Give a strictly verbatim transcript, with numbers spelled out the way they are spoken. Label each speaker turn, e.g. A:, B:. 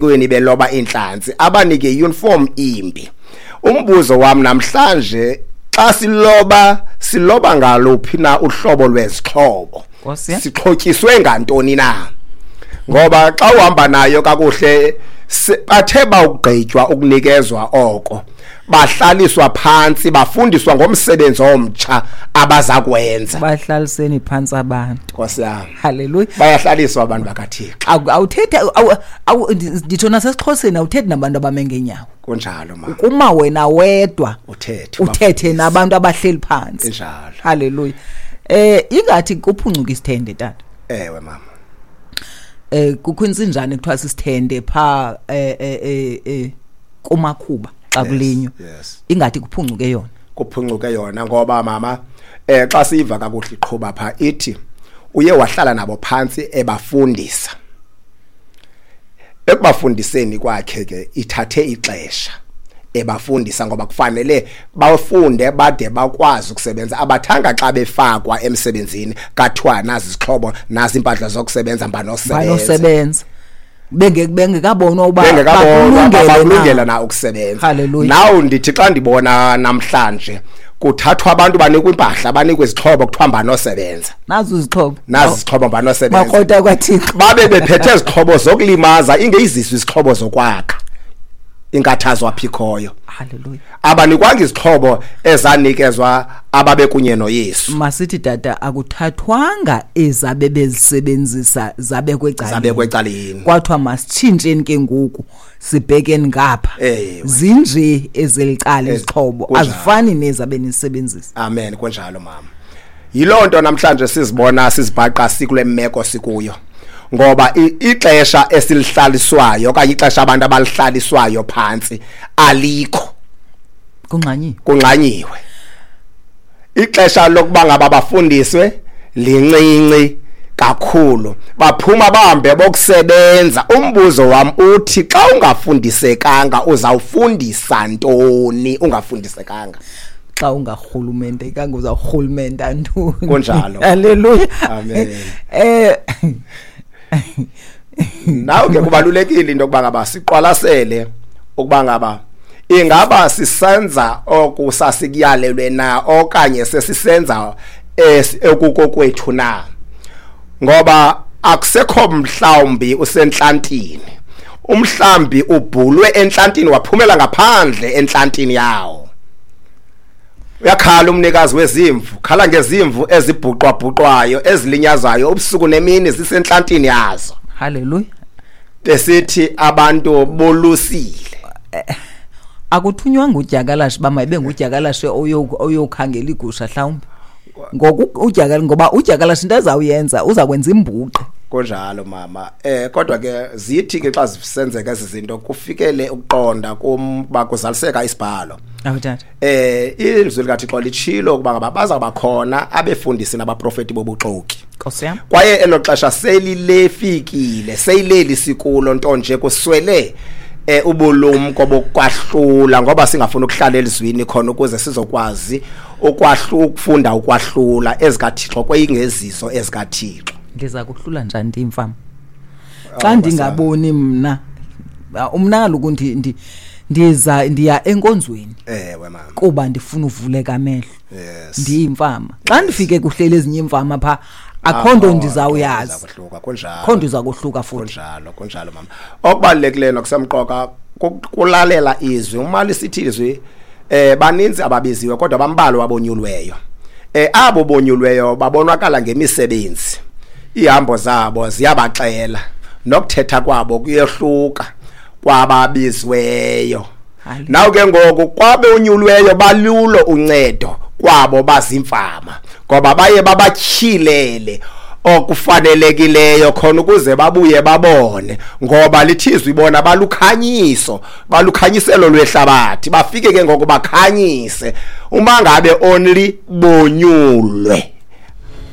A: Kweni beloba inhlanzi abanike uniform imbi. Umbuzo wami namhlanje, xa siloba siloba ngaluphi na uhlobo lwezixhobo?
B: Nkosi yam.
A: Sixhotyiswe ngantoni na? Ngoba xa uhamba nayo kakuhle, bathe bawugqitywa ukunikezwa oko, bahlaliswa phantsi, bafundiswa ngomsebenzi omtsha abaza kwenza.
B: Bahlaliseni phantsi abantu.
A: Nkosi yami.
B: Haleluya.
A: Bayahlaliswa abantu bakaThixo.
B: Awuthethi, nditsho nasesiXhoseni, awuthethi nabantu abame ngeenyawo.
A: Kunjalo ma.
B: Kuma wena wedwa.
A: Uthethe.
B: Uthethe nabantu abahleli phantsi.
A: Injalo.
B: Haleluya. Eh ingathi kuphuncuka isithende tata.
A: Ewe mama.
B: Eh kukho insinjane kuthiwa sisithende pha eh eh eh kumakhuba xa kulinywa.
A: Yes.
B: Ingathi kuphuncuke yona.
A: Kuphuncuke yona ngoba mama eh xa siva kakuhle iqhuba pha ithi uye wahlala nabo phansi ebafundisa. Ekubafundiseni kwakhe ke ithathe ixesha ebafundisa ngoba kufanele bafunde bade bakwazi ukusebenza. Abathanga xa befakwa emsebenzini kathiwa nazi izixhobo nazi impahla zokusebenza mbanosebenza.
B: Banosebenza. Benge bengekabonwa uba
A: bakulungela na ukusebenza.
B: Hallelujah.
A: Nawu ndithi xa ndibona namhlanje kuthathwa abantu banikwe impahla banikwe izixhobo kuthiwa mbanosebenza.
B: Nazi izixhobo.
A: Nazi izixhobo mbanosebenza.
B: Makota kwaThixo.
A: Babe bephethe izixhobo zokulimaza ingeyiziswe izixhobo zokwakha. Inkathazo aphikhoyo.
B: Hallelujah.
A: Abanikwanga izixhobo ezanikezwa ababekunye noYesu.
B: Masithi tata akuthathwanga ezabe bezisebenzisa zabekwe ecaleni.
A: Zabekwe ecaleni.
B: Kwathiwa masitshintsheni ke ngoku sibhekeni ngapha. Zinje ezelicala izixhobo azifani nezabe nisebenzisa.
A: Amen, kunjalo mama. Yilonto namhlanje sizibona sizibhaqa sikule meko sikuyo. Ngoba ixesha esilihlaliswayo okanye ixesha abantu abalihlaliswayo phansi alikho.
B: Kungxanyiwe.
A: Kungxanyiwe. Ixesha lokuba ngaba bafundiswe lincinci kakhulu. Baphuma bahambe bokusebenza. Umbuzo wami uthi xa ungafundisekanga uzawufundisa ntoni ungafundisekanga?
B: Xa ungarhulumente kanga uzawurhulumenta ntoni?
A: Kunjalo.
B: Haleluya.
A: Amen.
B: Eh
A: Nawe ke kubalulekile into yokuba ngaba siqwalasele ukuba ngaba ingaba sisenza okusasikuyalelwe na okanye sesisenza ekukokwethu na, ngoba akusekho mhlawumbi usenhlantini. Umhlambi ubhulwe enhlantini waphumela ngaphandle enhlantini yawo. Uyakhala umnikazi wezimvu, khala ngezimvu ezibhuqwa-bhuqwayo ezilinyazayo ubusuku nemini zisenhlantini yazo.
B: Haleluya.
A: Besithi abantu bolusile.
B: Akuthunywa ngudyakalashe ba mayibe ngudyakalashe oyokhangela igusha mhlawumbi. Ngoku udyakala ngoba udyakalashe into azawuyenza uzakwenza imbuqo.
A: Kunjalo mama. Eh kodwa ke zithi ke xa zisenzeka ezi zinto kufikele ukuqonda kumba kuzaliseka isibhalo.
B: Awu tata.
A: Eh ilizwi likaThixo litshilo ukuba ngaba baza khona abefundisi nabaprofeti bobuxoki.
B: Nkosi yam.
A: Kwaye elo xesha selilefikile, seyileli sikulo nto nje kuswele eh ubulumko bokwahlula ngoba singafuna ukuhlala elizwini khona ukuze sizokwazi ukwahluka ukufunda ukwahlula ezikaThixo kweyingezizo ezikaThixo.
B: Ndiza kuhlula njani ndimfama? Xa ndingaboni mna umna kaloku ndi ndiza ndiya enkonzweni.
A: Ewe mama.
B: Kuba ndifuna uvuleka amehlo.
A: Yes.
B: Ndiyimfama. Xa ndifike kuhlele ezinye imfama pha akho nto ndizawuyazi.
A: Kuhluka kunjalo.
B: Akho nto izakuhluka futhi.
A: Kunjalo, kunjalo mama. Okubalulekileyo nokusemqoka kulalela izwi. Uma lisithi izwi eh baninzi ababiziwe kodwa bambalwa abonyulweyo. Eh abo bonyulweyo babonakala ngemisebenzi. Ihambo zabo ziyabaxela nokuthetha kwabo kuyehluka kwababizweyo. Naw ke ngoku kwabe unyulweyo balulo uncedo kwabo bazimfama ngoba baye babatyhilele okufanelekileyo khona ukuze babuye babone, ngoba lithizwe ibona balukhanyiso balukhanyiselo lwehlabathi bafike ke ngoku bakhanyise uma ngabe only bonyulwe.